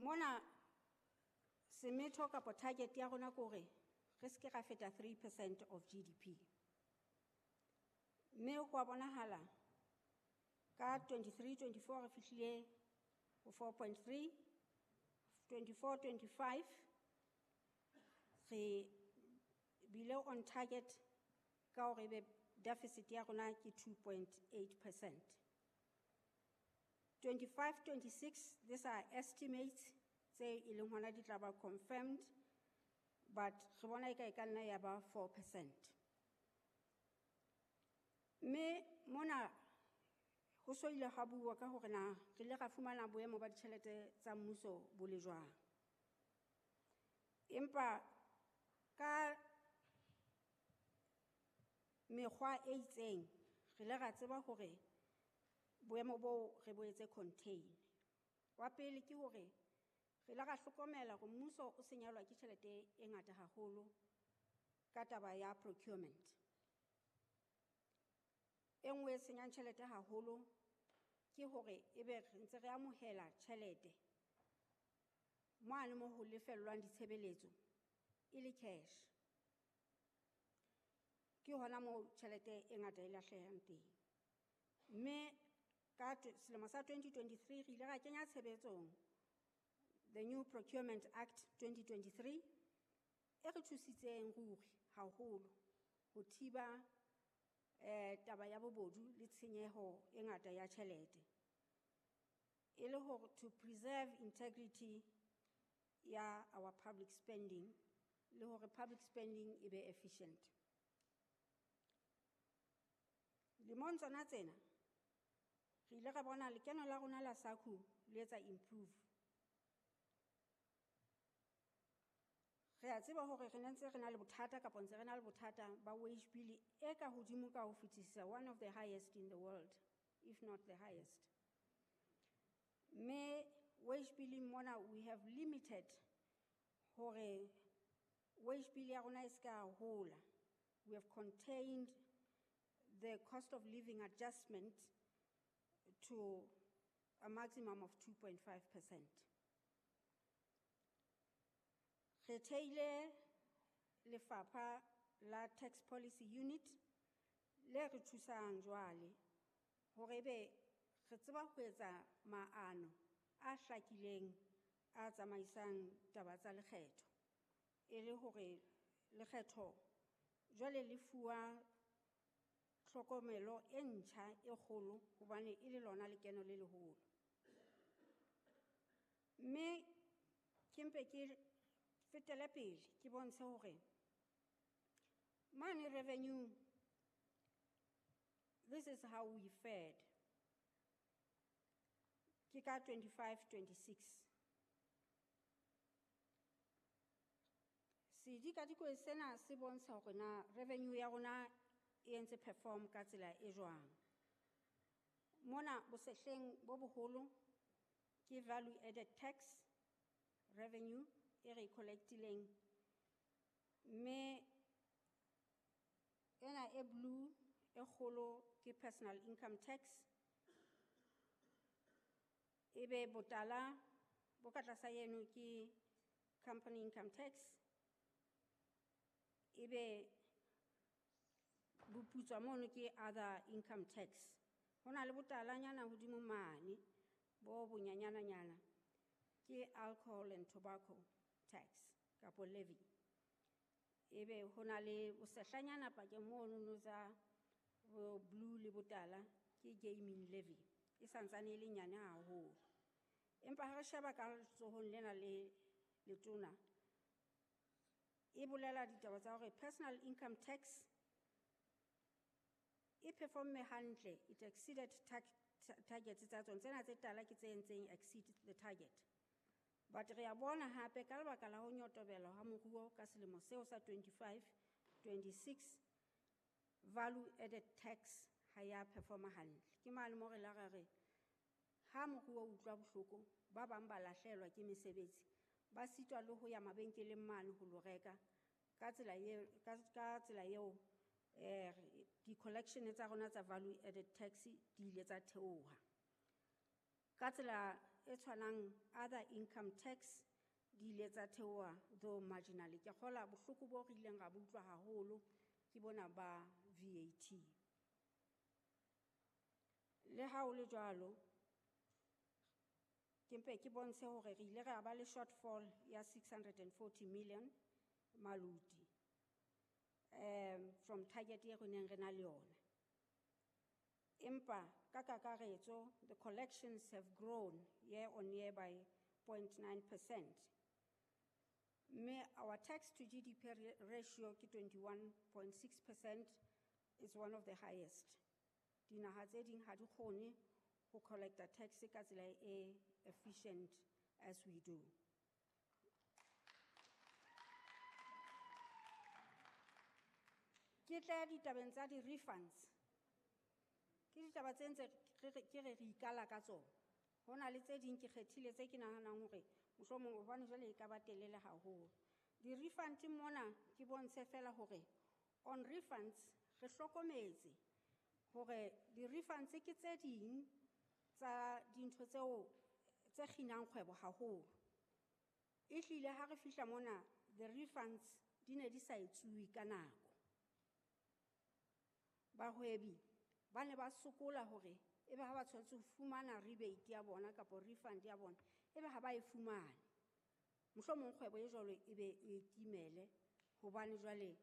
Mona semetho kapa target ya rona ke hore re se ke ra feta 3% of GDP. Mme ho a bonahala ka 23-24 re fihlile ho 4.3, 24-25 re bile on target ka hore ebe deficit ya rona ke 2.8%. 25-26, these are estimates tse e leng hona di tla ba confirmed, but re bona e ka e ka nna ya ba 4%. Mme mona ho so ile ha bua ka hore na re ile ra fumana boemo ba ditjhelete tsa mmuso bo le jwang. Empa ka mekgwa e itseng re ile ra tseba hore boemo boo re bo etse contain. Wa pele ke hore re ile ra hlokomela hore mmuso o senyelwa ke tjhelete e ngata haholo ka taba ya procurement. E nngwe e senyang tjhelete haholo ke hore ebe re ntse re amohela tjhelete mane mo ho lefellwang ditshebeletso e le cash. Ke hona moo tjhelete e ngata e lahlehang teng. Mme ka selemo sa 2023 re ile ra kenya tshebetsong the new Procurement Act 2023 e re thusitseng ruri haholo ho thiba taba ya bobodu le tshenyeho e ngata ya tjhelete. E le hore to preserve integrity ya our public spending le hore public spending e be efficient. Lemong tsona tsena re ile ra bona lekeno la rona la SACU le etsa improve. Re a tseba hore re ntse re na le bothata kapa ntse re na le bothata ba wage bill e ka hodimo ka ho fetisisa, one of the highest in the world, if not the highest. Mme wage bill mona we have limited hore wage bill ya rona e se ka hola. We have contained the cost of living adjustment to a maximum of 2.5%. Re theile lefapha la Tax Policy Unit le re thusang jwale hore ebe re tseba ho etsa maano a hlakileng a tsamaisang taba tsa lekgetho, e le hore lekgetho jwale le fuwa tlhokomelo e ntjha e kgolo hobane e le lona lekeno le leholo. Mme ke mpe ke fetele pele ke bontshe hore mane revenue, this is how we fared. Ke ka 25-26. Sedikadikwe sena se bontsha hore na revenue ya rona e entse perform ka tsela e jwang. Mona bosehleng bo boholo ke value added tax revenue e re collectileng, mme ena e blue e kgolo ke personal income tax, ebe botala bo ka tlasa eno ke company income tax, ebe boputswa mono ke other income tax. Ho na le botalanyana hodimo mane bo bonyanyananyana ke alcohol and tobacco tax kapo levy. Ebe ho na le bosehlanyana pakeng mono no tsa bo blue le botala ke gaming levy, e santsane e le nyane haholo. Empa ha re sheba ka letsohong lena le letona, e bolela ditaba tsa hore personal income tax e performe hantle, it exceeded target tsa tsona. Tsena tse tala ke tse entseng exceed the target. But re a bona hape ka lebaka la ho nyotobela ha moruo ka selemo seo sa 25-26, value added tax ha ya performa hantle. Ke mane mo re la ra re ha moruo o utlwa bohloko, ba bang ba lahlehelwa ke mesebetsi, ba sitwa le ho ya mabenkeleng mane ho lo reka. Ka tsela eo, ka tsela eo, di-collection tsa rona tsa value added tax di ile tsa theoha. Ka tsela e tshwanang other income tax di ile tsa theoha though marginally. Ke kgola bohloko bo re ileng ra bo utlwa haholo ke bona ba VAT. Le ha ho le jwalo, ke mpe ke bontshe hore re ile ra ba le shortfall ya 640 million maluti from target e re neng re na le yona. Empa ka kakaretso, the collections have grown year on year by 0.9%. Mme our tax to GDP ratio ke 21.6% is one of the highest. Dinaha tse ding ha di kgone ho collecta tax ka tsela e efficient as we do. Ke tla ditabeng tsa di-refunds. Ke ditaba tse ntse ke re re ikala ka tsona. Ho na le tse ding ke kgethile tse ke nahanang hore mohlomong hobane jwale e ka ba telele haholo. Di-refund mona ke bontshe fela hore on refunds re hlokometse hore di-refunds ke tse ding tsa dintho tseo tse kginang kgwebo haholo. Ehlile ha re fihla mona the refunds di ne di sa etsuwe ka nako. Bahwebi ba ne ba sokola hore ebe ha ba tshwanetse ho fumana rebate ya bona kapa refund ya bona, ebe ha ba e fumane. Mohlomong kgwebo e jwalo ebe e timele hobane jwale